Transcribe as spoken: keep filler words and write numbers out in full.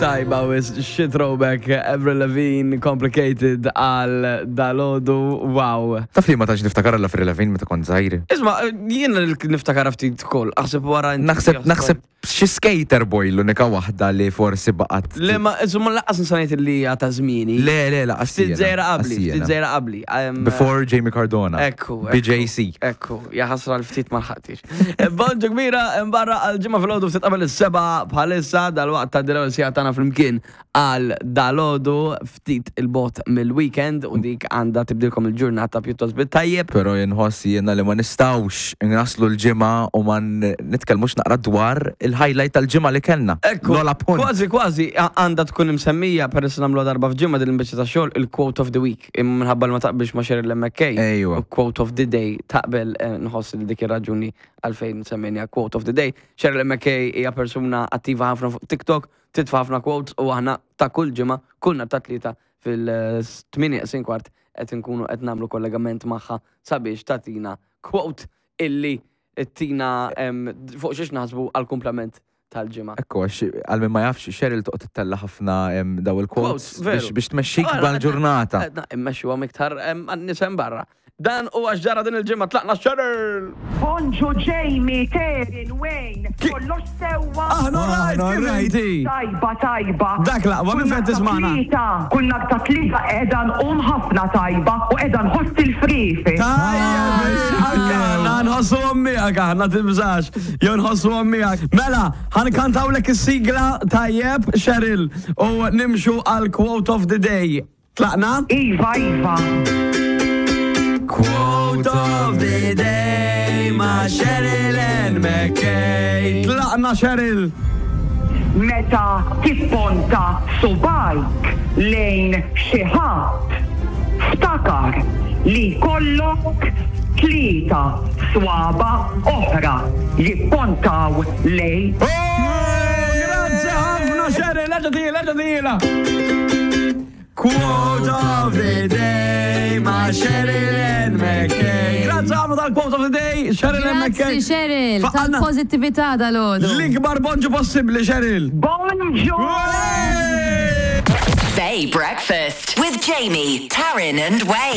Tajba, wis shit throwback, Avril Lavigne, Complicated għal dalgħodu, wow. Taf li ma tantx niftakar l-Avril Lavigne meta kont żgħir. Isma, jiena niftakar ftit kol, aħseb wara inti. Naħseb naħseb xi skater boy l-unika waħda li forsi baqgħet. Le ma, insomma, lanqas nsanajt li hija ta' żmieni. Le, le, la, Ftit żgħira qabli, ftit żgħira qabli. Em, Before Jamie Cardona. Ekku. B J C. Ekku, jaħasra l-ftit ma lħaqtix. Bonġu kbira, barra għal-ġimgħa filgħodu, ftit qabel is-sebgħa bħalissa, dal-waqt ta' dil siegħa tagħna flimkien għal dalgħodu, ftit il-bogħod mill-weekend, u dik għandha tibdilkom il-ġurnata pjuttost bit-tajjeb. Pero jinħoss jiena li ma nistgħux naslu l-ġimgħa u ma n- nitkellmux naqra dwar il-highlight tal-ġimgħa li kellna. Ekku, Lola Punt. kważi kważi a- għandha tkun imsemmija, peress nagħmlu darba f'ġimgħa din il-biċċa ta' xogħol, il-quote of the week, imma minħabba li ma taqbilx ma' Cheryl M K. Ejwa. U quote of the day taqbel, eh, nħoss li dik ir-raġuni għalfejn semmejna quote of the day. Cheryl M K hija persuna attiva ħafna fuq TikTok, titfa' ħafna quotes, u aħna ta' kull ġimgħa, kull nhar ta' Tlieta fil-tmienja kwart qed nkunu qed nagħmlu kollegament magħha sabiex tagħtina quote illi tina em, fuq xiex naħsbu għal-kumplament tal-ġimgħa. Ekku, għax għal min ma jafx, Cheryl toqgħod tittella ħafna em, daw il-quotes Quotes, veru. biex biex tmexxik Ara, bħal-ġurnata. Edna, immexxu għam iktar għan-nisem barra. Dan u għax ġara din il-ġimgħa, tlaqna, Cheryl! Bonġu Jamie, Terin, Wayne, kollox sewwa? Aħna rajt, kif inti? Tajba, tajba. Dak l-aqwa, minn fejn tismagħna? Tlieta, kull nhar ta' Tlieta qiegħda nqum ħafna tajba u qiegħda nħoss il-frifi. Tajjeb, anka aħna nħossu miegħek aħna, tibżax. Jew nħossu miegħek. Mela, ħa nkantawlek is-sigla tajjeb, Cheryl, u nimxu għal quote of the day. Tlaqna? Iva, iva. Quote of the day ma' Cheryl and McKay. Tlaqna, Cheryl. Meta tipponta subgħajk lejn xi ħadd, ftakar li jkollok tlieta swaba oħra jippontaw lejk. Oh, grazzi ħafna, Cheryl, leġa tila, leġa tila. Quote of the day ma' Cheryl and McKay. Grazzi ħafna tal-quote of the day, Cheryl and McKay. Grazzi, Cheryl, Faqqalna tal-pozittività dalgħodu. l-ikbar bonġu possibli, Cheryl. Bonġu! Bay Breakfast with Jamie, Taryn, and Wayne.